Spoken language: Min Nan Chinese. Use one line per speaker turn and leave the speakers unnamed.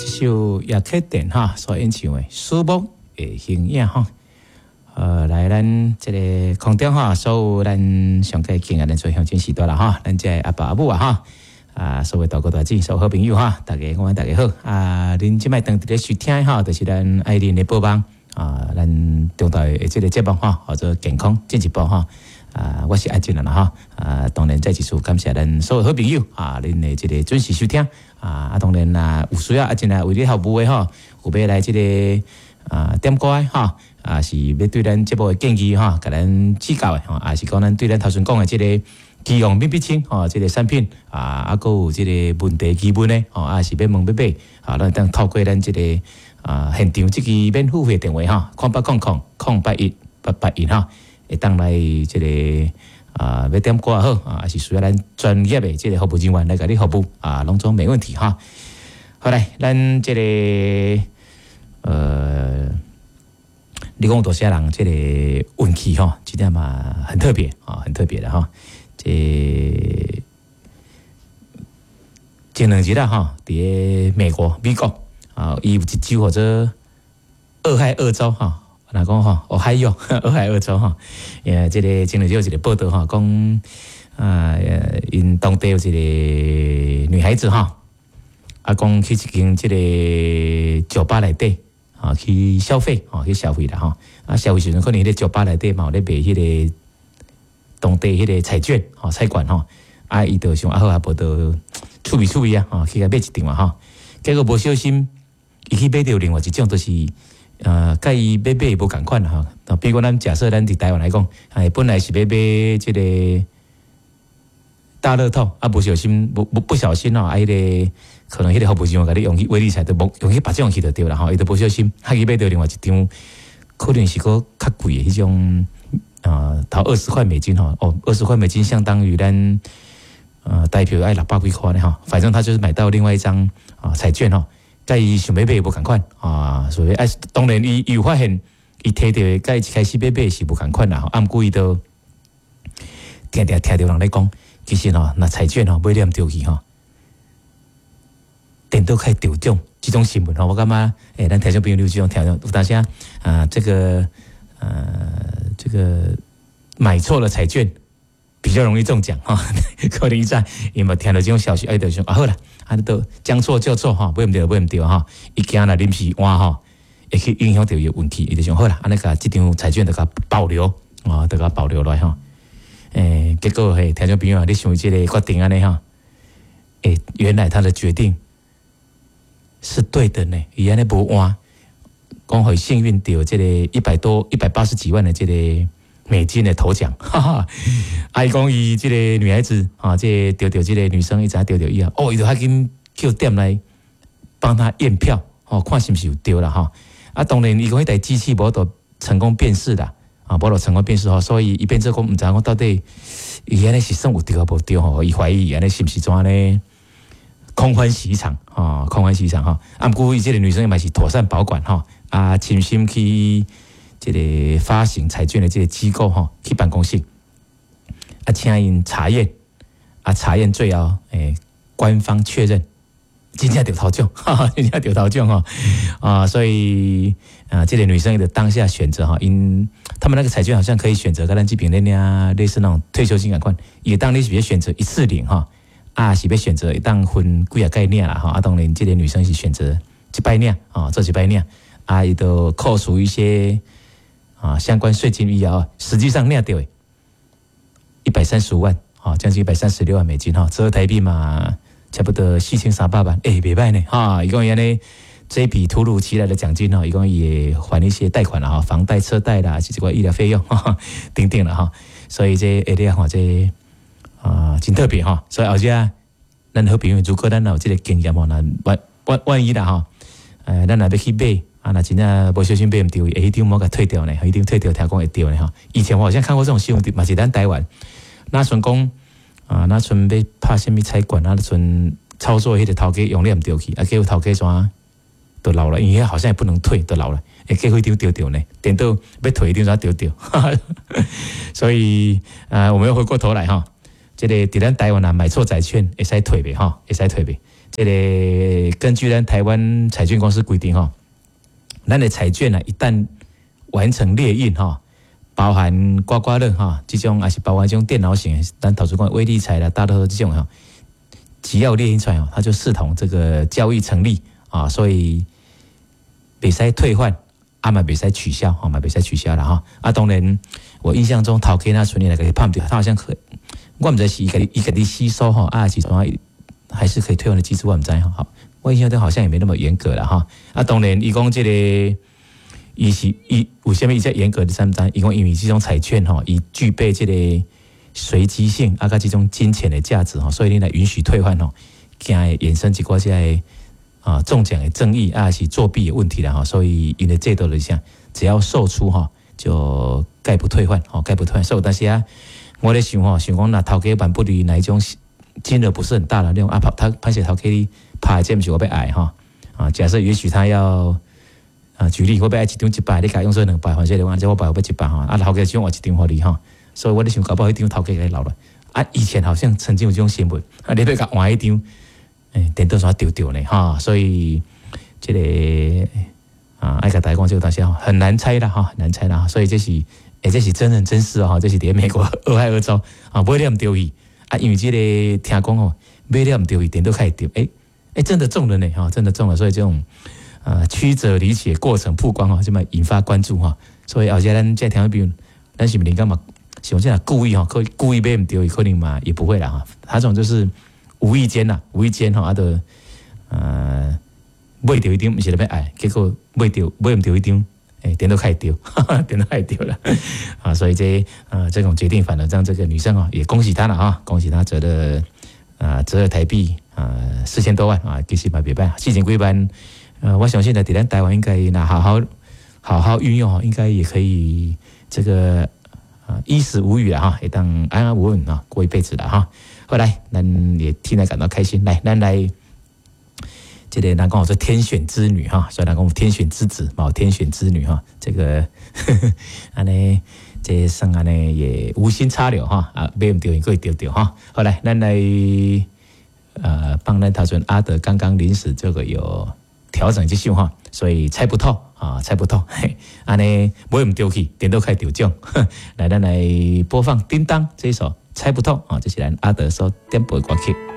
這首葉啟田哈所演唱的《思慕的形影》哈。來咱這个空中哈，所有咱上蓋敬愛咱做鄉親序大啦哈，咱這个阿爸阿母啊哈，啊，所有大哥大姐，所有好朋友哈，大家我大家好啊！恁這擺當佇咧收聽哈，就是咱愛鄰的播放啊，咱中晝的這个節目哈，叫做健康進一步哈。啊，我是阿俊啦哈，啊，當然再一次感謝咱所有好朋友啊，恁的這个準時收聽啊，啊，當然啊，有需要阿俊來為你服務的吼，有欲來這个啊點歌的哈，啊是欲對咱節目的建議哈，共咱指教的吼，啊是講咱對咱頭先講的這个期望免必清吼，這个產品啊，啊，閣有這个問題疑問的吼，啊是欲問欲買，啊，咱會當透過咱這个啊現場這支免付費電話哈，0800 008 881哈。會當來這个啊，欲點歌也好啊，抑是需要咱專業的這个服務人員來共你服務啊，攏總沒問題哈。好來，咱這个你講多少人這个運氣吼，這點嘛很特別啊，很特別的哈。這前兩日啦哈，佇个美國美國啊，伊有一州號做俄亥俄州哈。若講吼，俄亥俄，俄亥俄州吼，這个前兩日有一个報道吼，講啊，𪜶當地有一个女孩子哈，啊，講去一間這个酒吧內底啊去消費，吼去消費啦吼，啊，消費時陣可能彼个酒吧內底嘛有咧賣彼个當地彼个彩券，吼彩券吼，啊，伊就想啊好啊，無就趣味趣味啊，吼去共買一張嘛吼，結果無小心，伊去買著另外一種，就是。佮伊欲買無仝款啦吼。比如講，咱假設咱佇台灣來講，哎，本來是欲買這个大樂透，啊，無小心，無無不小心吼，啊，彼个可能彼个服務人員共你用去威力彩都無用去別種去就對啦吼，伊就無小心，啊去買著另外一張，可能是閣較貴的彼種，啊，投20塊美金吼，哦，二十塊美金相當於咱台票愛600幾塊呢吼，反正他就是買到另外一張啊彩券吼。佮伊想欲買無仝款啊，所以啊，當然伊有發現，伊提著的佮伊一開始欲買是無仝款啦，啊，毋過伊都定定聽著人咧講，其實吼，若彩券吼買了毋著去吼，顛倒較會著獎這種新聞吼，我感覺欸，咱聽眾朋友有這種聽眾有當時啊，這個買錯了彩券比較容易中獎哈，可能在伊嘛聽著這種消息，哎，就想啊好啦，啊都將錯就錯哈，買毋著買毋著哈，伊驚若臨時換吼，會去影響著伊的運氣，伊就想好啦，按呢共這張彩券就共保留啊，就共保留落來吼。欸，結果嘿，聽眾朋友，你想這个決定按呢吼？欸，原來他的決定是對的呢，伊按呢無換，講予伊幸運著這个100多、180幾萬的這个美金的頭獎，哈哈！啊，伊講伊這个女孩子啊，這个著著這个女生伊知影著著以後，哦，伊就較緊叫店來幫他驗票，哦，看是毋是有著啦，吼。啊，當然伊講彼台機器無法度成功辨識啦，啊，無法度成功辨識吼，所以伊變做講毋知影講到底伊按呢是算有著抑無著吼，伊懷疑伊按呢是毋是怎呢？空歡喜一場，啊，空歡喜一場吼。啊，毋過伊這个女生嘛是妥善保管吼，啊，親身去這个發行彩券的這个機構吼，去辦公室，啊，請𪜶查驗，啊，查驗最後，欸，官方確認，真正著頭獎，哈哈，真正著頭獎吼，啊，所以啊，這个女生的當下選擇哈，𪜶他們那個彩券好像可以選擇，佮咱這邊咧領類似那種退休金仝款，會當你是欲選擇一次領哈，啊，是欲選擇會當分幾仔擺領啦吼，啊，當然這个女生是選擇一擺領，啊，做一擺領，啊，伊就扣除一些啊，相關稅金以後，實際上領著135萬，啊，將近136萬美金哈，折合台幣嘛，差不多4300萬，欸，袂䆀呢，哈，伊講伊按呢，這筆突如其來的獎金哈，伊講也還一些貸款啦，哈，房貸、車貸啦，這個醫療費用，哈哈，等等啦，哈，所以這會你看這啊，真特別哈，所以後者咱好朋友，如果咱有這个經驗吼，那萬萬萬一啦吼，咱若欲去買。啊，若真正無小心買毋著，欸，彼張無共退掉呢，彼張退掉聽講會著呢吼。以前我好像看過這種新聞，嘛是咱台灣，若陣講啊，若陣欲拍啥物彩券啊，若陣操作彼个頭家用了毋著去，啊，結果頭家怎就老了，因為好像也不能退，就老了，欸，結果彼張著著呢，顛倒欲退彼張怎著著，所以啊，我們又回過頭來哈，這个佇咱台灣啊，買錯債券會使退袂吼？會使退袂？這个個根據咱台灣彩券公司規定吼，咱的彩券啊，一旦完成列印吼，包含刮刮樂哈，這種抑是包含這種電腦型，咱頭拄講威力彩啦、大樂透這種吼，只要列印出來哦，它就視同這個交易成立啊，所以袂使退換，啊嘛袂使取消，吼嘛袂使取消啦吼。啊，當然我印象中頭家那存年來共伊拍毋著，他好像可，我毋知是伊家己吸收吼，啊是怎還是可以退換的機制，我毋知吼。我印象中好像也沒那麼嚴格啦吼。啊，當然伊講這個。伊是伊為啥物伊遮嚴格的三知？伊講因為這種彩券吼，伊具備這個隨機性啊，佮這種金錢的價值吼，所以你來允許退換吼，驚會衍生一寡這個啊中獎的爭議啊，是作弊的問題啦吼，所以𪜶的制度就是啥，只要售出吼，就概不退換吼，概不退換。所以有當時啊，我咧想吼，想講若頭家萬不離哪一種金額不是很大的那種啊，拍他歹勢頭家你拍這毋是我欲愛吼啊，假設也許他要。啊，舉例，我欲愛一張一百，你共用做兩百，反正你講，我百我欲一百吼，啊，頭家只換一張予你吼，所以我咧想，搞不好彼張頭家共留落。啊，以前好像曾經有這種新聞，啊，你欲共換彼張，欸，顛倒煞著著呢，哈，所以這個啊，愛共大家講這個東西很難猜啦，哈，很難猜啦，所以這是，欸，這是真人真事哦，這是佇美國俄亥俄州啊，買了毋著去，啊，因為這個聽講哦，買了毋著去，顛倒較會著，欸，欸，真的中了呢，哈，真的中了，所以這種。啊，曲折離奇的過程曝光哦，這麼引發關注哈。所以後日咱這聽眾朋友，咱是毋是感覺像這樣故意吼，可故意買毋著，可能嘛也不會啦哈。他這種就是無意間呐，無意間吼，啊，就買著一張毋是咧欲愛，結果買著買毋著彼張，欸，顛倒較會著，顛倒較會著啦。啊，所以這啊這種決定反而讓這個女生啊也恭喜她了啊，恭喜她折了啊折合台幣啊4000多萬啊，其實嘛袂䆀，四千幾萬。我相信呢，佇咱台灣應該若好好好好運用，應該也可以這個啊衣食無虞啊，哈，會當安安穩穩啊過一輩子了哈。後來咱也替她感到開心，來，咱來這個人講說天選之女哈，所以人講天選之子，嘛天選之女哈，這個按呢這算按呢也無心插柳哈，啊買毋著閣會著著哈。好來，咱來幫咱頭先阿德剛剛臨時這個有調整這首哈，所以猜不透啊，猜不透，嘿，按呢買毋著去，顛倒較會著獎。來，咱來播放《叮當》這一首《猜不透》啊，這是咱阿德所點播的歌曲。